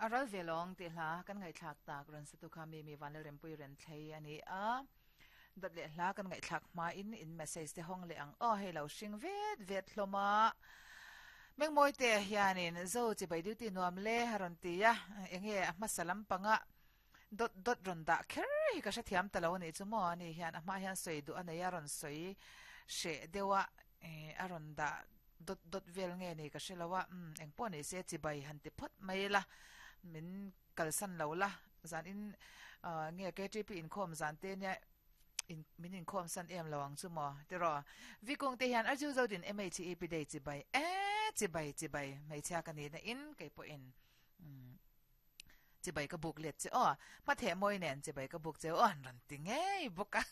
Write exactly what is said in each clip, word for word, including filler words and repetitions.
A ral ve lawng tih hla kan ngaihthlak tak rawn satu kha mi mi Vanlalrempui Renthlei a ni a. Dawt leh hla kan ngaihthlak hmain in message te hawng leh ang aw hei lo hring vet vet hlawm a. Mengmawi te hianin Zo chibai duty nuam le a rawn ti a, enge a hmasa lampanga dawt dawt rawn dah kher hi ka hrethiam ta lo a nih chu maw ani hian a hma hian sawi duh a nei a rawn sawi hreh deuh a a rawn dah dawt dawt vel nge ni ka hre lo a umm engpawh ni se chibai han ti phawt mai la min kalsan lo la zan in ah nge K T P inkhawm zan te nia in min inkhawm san em lo ang chu maw tiraw Vikung te hian Arju Zodin M H E P day chibai e chibai chibai hmeichhia ka nihna in kei pawhin umm Chibai ka buk let che aw, hmatheh mawi nen chibai ka buk che aw an rawn ti ngei bawk a.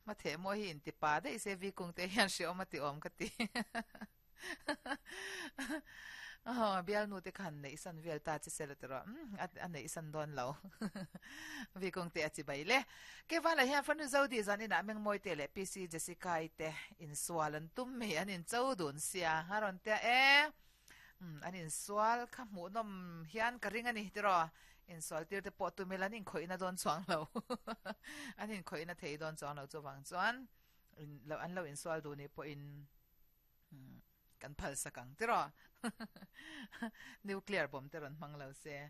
Hmatheh mawi hi inti pa daih se Vikung te hian hreawm a ti awm ka ti. Aw, bialnu te khan neih san vel ta che sela tiraw, umm a neih san dawn lo. Vikung te a chibai le. Kevala hian Fanu Zodi zan inah Mengmawi te leh P C Jessica-i te insual an tum mai, an incho dun sia a rawn tia e. Umm an insual kha hmuhnawm hian ka ring a ni tiraw insual tir te pawh tumil an inkhawihna dawn chuang lo an inkhawihna thei dawn chuang lo chuvang chuan in lo an lo insual duh nih pawhin umm kan phal sak ang tiraw nuclear bomb te rawn hmang lo se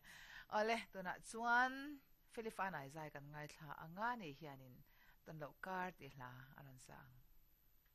awle tunah chuan Felifanai zai kan ngaithla anga ni hianin tawn loh kar tih hla a rawn sa ang.